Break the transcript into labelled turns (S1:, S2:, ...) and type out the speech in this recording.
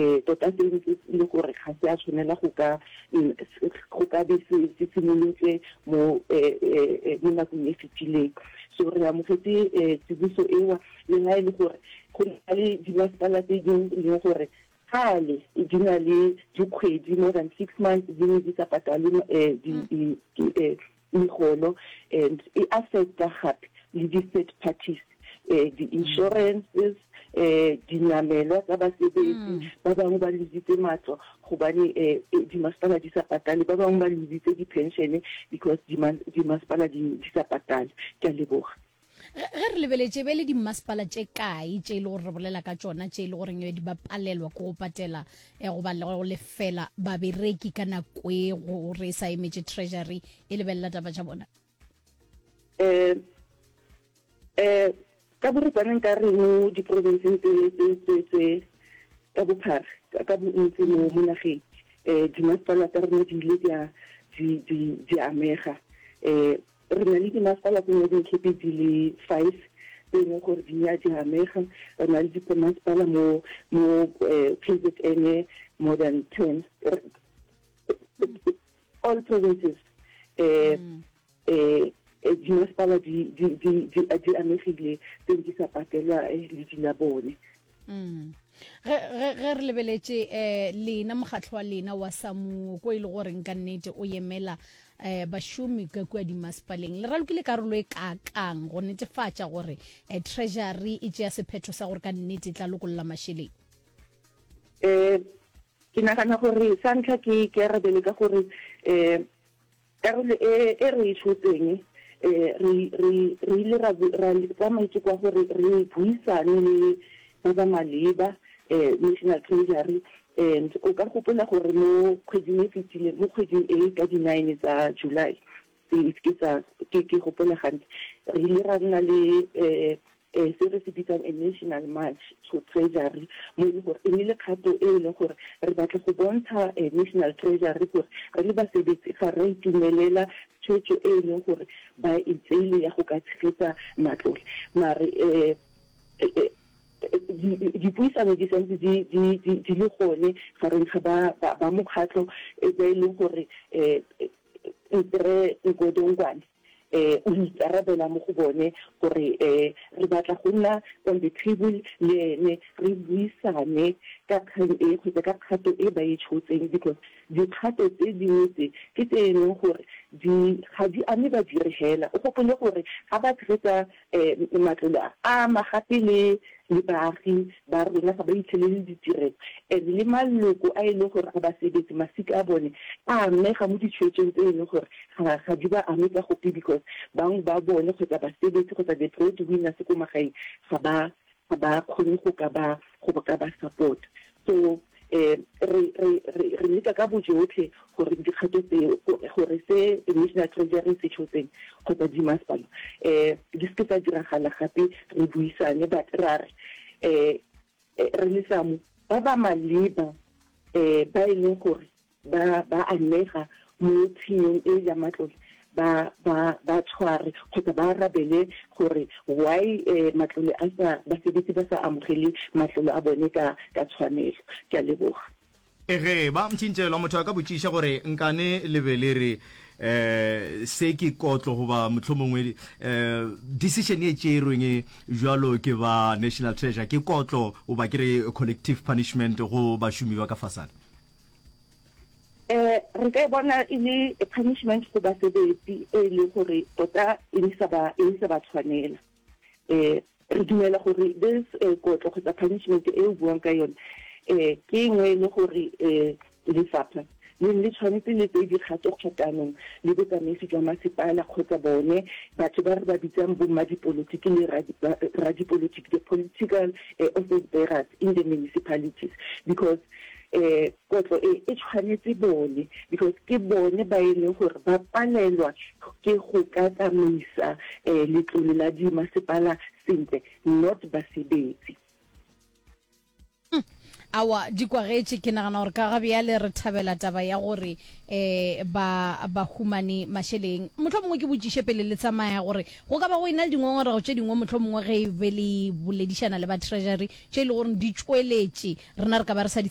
S1: Um tota seno se e le gore ga se a tshwanela go ka go ka be se se simolotse mo mo nakong e fetileng. So re amogetse tsiboso ewa le ha e le gore go na le dimasepala tse dingwe e leng gore kgale di na le dikgwedi more than six months di ne di sa patale megolo and e affecta gape le di-third parties eh, di-insurances eh, dinamelwa tsa basebetsi mm. ba bangwe ba lositse matlo gobane eh, eh, dimasepala di sa patale ba bangwe ba lositse di-pensione because dimasepala di sa patale ke a leboga
S2: Ge re lebeletše, e be e le dimmasepala tše kae tše e le gore re bolela ka tšona tše e le goreng di ba palelwa ke go patela eh, goba le go lefela babereki ka nako e gore e sa emetše treasury e lebelela taba tša bona?
S1: Um um ka boripana nka re mo diprofenseng tse tse tse tse ka bophara ka bontsi mo mo nageng um dimasepala tsa rona di ile di a di di di amega um Re na le dimasepala tse Northern Cape di le five tse e leng gore di a di amega. Re na le dimasepala mo mo KZN more than ten. All provinces um dimasepala di di di di amegile tse di sa patelwa ledi la bone.
S2: Mm. Ge, ge, ge re lebeletše eh, lena mokgatlo wa lena wa samuo ko e le goreng ka nnete o emela eh, bašomi ka kua dimasepaleng le ralokile karolo e kaakang go netefatša gore eh, treasury e tšea sephetho sa gore ka nnete e tla lokolola mašeleng
S1: um ke nagana gore sa ntlha ke ke arabele ka gore um Karolo e e re e tshotseng, re, re, re ile ra, ra tsaya maiteko a gore re buisane le ba ba maleba, National Treasury, and o ka gopola gore mo kgweding e fetileng, mo kgweding e ka di nine tsa July, if ke sa, ke, ke gopola gantle, re ile ra nna le se re se bitsang a national march to treasury, mo e leng gore e ne le kgato e e leng gore re batla go bontsha national treasury gore re le basebetsi ga re a itumelela tshwetso e e leng gore ba e tseile ya go ka tshegetsa matlole. Mare dipuisano di santse di di le gone gareng ga ba ba mokgatlho ba e leng gore Rre Nkodongwane um o ikarabela mo go bone gore um re batla go nna on the table le ene re buisane ka kgang e kgotsa ka kgato e ba e tshotseng because dikgato tse dingwe tse ke tse e leng gore di ga di ame badiri hela. O gopole gore ga ba tshegetsa um matlole a, a ama gape le le baagi ba rona ga ba itlhelele ditirelo and le maloko a e leng gore ga ba sebetse masika a bone a amega mo ditshwetsong tse e leng gore ga ga di ba ame ka gope because bangwe ba bone kgotsa basebetsi kgotsa the bread winners ko magaeng ga ba ga ba kgone go ka ba go ka ba support so um re re re re leka ka bojotlhe gore dikgato tseo gore se National Treasury se tshotseng kgotsa dimasepala um di seke tsa diragala gape re buisane but ra re um re le SAMU ba ba maleba um ba e leng gore ba ba amega mo tshenyong e ya matlole ba ba ba tshware kgotsa ba arabele gore why eh, matlole a sa basebetsi ba sa amogele matlole a bone ka ka tshwanelo. Ke a leboga.
S3: Ege, ba mtšintšelwa, motho a ka botšiša gore nkane le be le re um se ke kotlo goba mohlomongwe um decision e tšerweng e bjalo ke ba National Treasure ke kotlo goba ke re collective punishment go bašomi ba ka fasana.
S1: Eh, re ka e bona e le a punishment go basebetsi e leng gore tota e ne sa ba e sa ba tshwanela. Eh, re dumela gore this eh, kotlo kgotsa punishment e o buang ka yone eh ke nngwe e le gore eh lefapha le le tshwanetse le tseye dikgato kgatanong le botsamaisi jwa masepala kgotsa bone batho ba re ba bitsang bomma dipolotiki le radipolotiki the political eh, office bearers in the municipalities because eh kotlo e e tshwanetse bone because ke bone ba e leng gore ba palelwa ke go ka tsamaisa eh letlole la dimasepala sentle not basebetsi.
S2: Hmm. Awa di kwagetše ke nagana gore ka ga bjale re thabela taba ya gore um ba ba humane mašeleng mohlomongwe ke botšiše pele le tsamaya gore go ka ba go ena le dingongorego tše dingwe mohlomongwe ge e be le boledišana le ba treasury tše e le gore di tšweletše rena re ka ba re sa di.